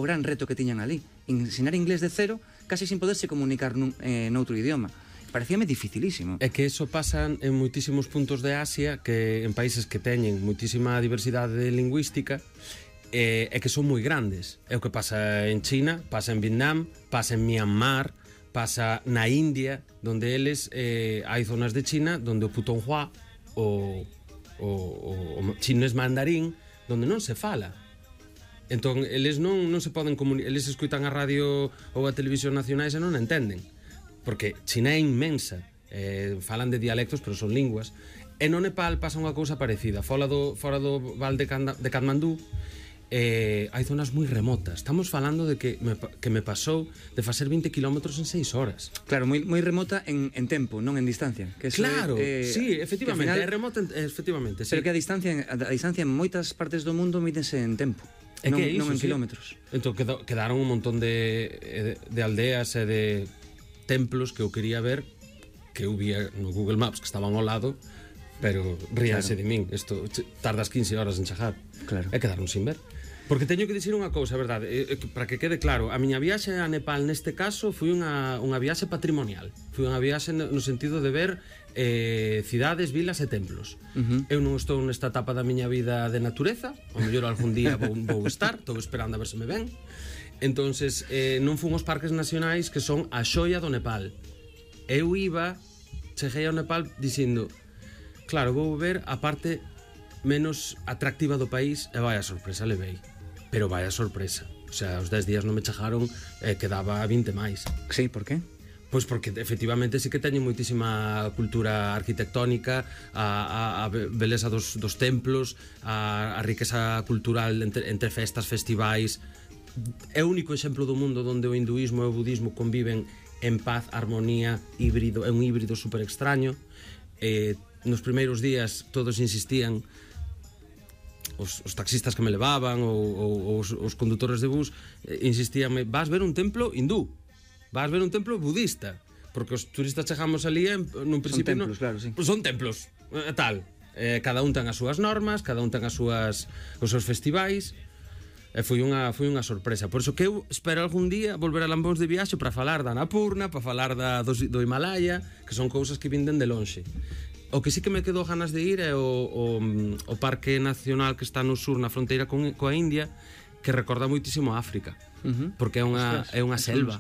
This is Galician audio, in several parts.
gran reto que tiñan ali. Ensinar inglés de cero, casi sin poderse comunicar noutro idioma. Parecíame dificilísimo. É que eso pasa en moitísimos puntos de Asia, que en países que teñen moitísima diversidade lingüística, e que son moi grandes. É o que pasa en China, pasa en Vietnam, pasa en Myanmar, pasa na India, donde eles hai zonas de China donde o putonghua, o chinés mandarín, donde non se fala. Entón, eles non se poden comunicar, eles escutan a radio ou a televisión nacionais e non entenden. Porque China é inmensa, falan de dialectos, pero son linguas. E no Nepal pasa unha cousa parecida. Fora do val de Katmandú, hai zonas moi remotas. Estamos falando de que me pasou de facer 20 kilómetros en 6 horas. Claro, moi remota en tempo, non en distancia. Que claro, sí, efectivamente, é remota, efectivamente, sí. Pero que a distancia en moitas partes do mundo mídense en tempo, non en kilómetros. Entón quedaron un montón de aldeas e de templos que eu quería ver, que eu vía no Google Maps, que estaban ao lado, pero ríanse de min. Isto tardas 15 horas en chegar. Claro. E quedaron sin ver. Porque teño que dicir unha cousa, verdade, para que quede claro, a miña viaxe a Nepal neste caso foi unha viaxe patrimonial. Foi unha viaxe no sentido de ver cidades, vilas e templos. Eu non estou nesta etapa da miña vida de natureza, ao mellor algún día vou estar, estou esperando a ver se me ven. Entonces, non fun aos parques nacionais, que son a xoia do Nepal. Eu cheguei ao Nepal dicindo, claro, vou ver a parte menos atractiva do país, e vai a sorpresa, levei. Pero vai a sorpresa. O sea, os 10 días non me chegaron, quedaba 20 máis. Sí, por qué? Pois porque efectivamente sí que teñen moitísima cultura arquitectónica, a beleza dos templos, a riqueza cultural entre festas, festivais. É o único exemplo do mundo onde o hinduísmo e o budismo conviven en paz, armonía, híbrido. É un híbrido super extraño. Nos primeiros días todos insistían, os taxistas que me levaban ou os condutores de bus insistían, vas ver un templo hindú, vas ver un templo budista, porque os turistas chegamos ali nun principio son templos, claro, sí. Son templos, tal. Cada un ten as súas normas, cada un ten os seus festivais. Foi unha sorpresa. Por iso que eu espero algún día volver a Lambóns de viaxe para falar da Annapurna, para falar do Himalaya, que son cousas que vinden de lonxe. O que sí que me quedou ganas de ir é o Parque Nacional que está no sur, na fronteira coa India, que recorda moitísimo a África, porque é unha selva.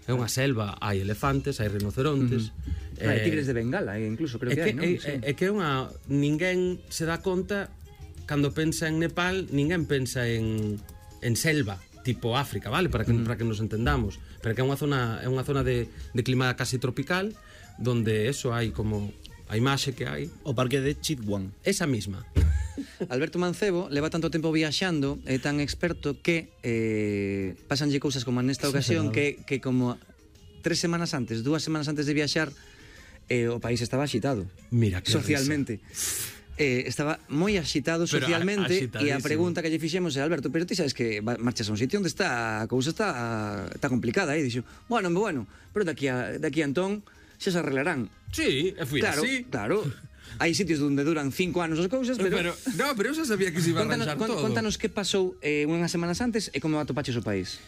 É unha selva, hai elefantes, hai rinocerontes, hai tigres de Bengala, incluso creo que hai, non? É que ninguén se dá conta. Cando pensa en Nepal, ninguén pensa en selva, tipo África, vale? Para que nos entendamos. Pero que é unha zona de clima casi tropical, donde eso hai como a imaxe que hai. O parque de Chitwan. Esa misma. Alberto Mancebo leva tanto tempo viaxando, é tan experto que pasanlle cousas como nesta ocasión, que como 2 semanas antes de viaxar, o país estaba axitado. Mira que socialmente. Estaba moi axitado socialmente, e a pregunta que lle fixemos é, Alberto, pero ti sabes que marchas a un sitio onde a cousa está complicada, e dixo, bueno, pero daqui a entón xa se arreglarán. Sí, fui así. Claro, hai sitios onde duran 5 anos as cousas, pero eu xa sabía que se iba a arranxar todo. Contanos que pasou unhas semanas antes e como atopaches o país.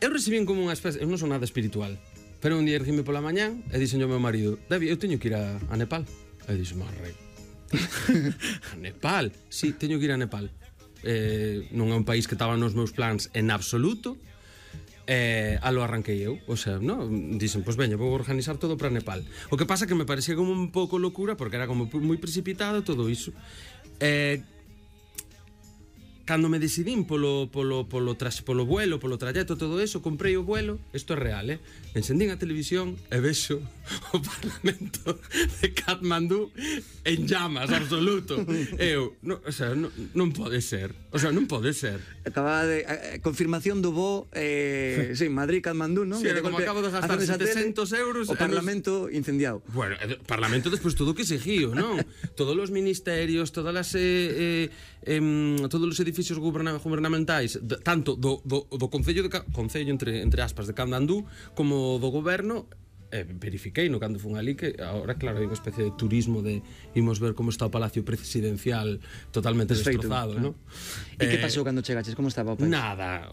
Eu recibín como unha especie, eu non son nada espiritual, pero un día erguime pola mañán e dixen ao meu marido, David, eu teño que ir a Nepal. E dixo, marrei. A Nepal? Sí, teño que ir a Nepal. Non é un país que estaba nos meus plans en absoluto. Lo arranquei eu. O sea, no, dixen, pois veña, vou organizar todo para Nepal. O que pasa que me parecía como un pouco locura, porque era como moi precipitado todo iso. Cando me decidín polo vuelo, polo trayecto, todo eso, comprei o vuelo, isto é real, encendín a televisión e vexo o Parlamento de Katmandú en llamas, absoluto. Eu, non pode ser. O sea, non pode ser. Acababa de confirmación do voo, sí, Madrid-Katmandú, non? Sí, como acabo de gastar 700 euros. O Parlamento incendiado. Bueno, o Parlamento despois todo o que seguiu, non? Todos os ministerios, todos os edificios gubernamentais, tanto do Concello entre aspas de Katmandú como do goberno, verifiquei no cando fun ali que agora claro hai unha especie de turismo de imos ver como está o palacio presidencial totalmente destrozado, non? E que pasou cando chegaches? Como estaba o país? Nada,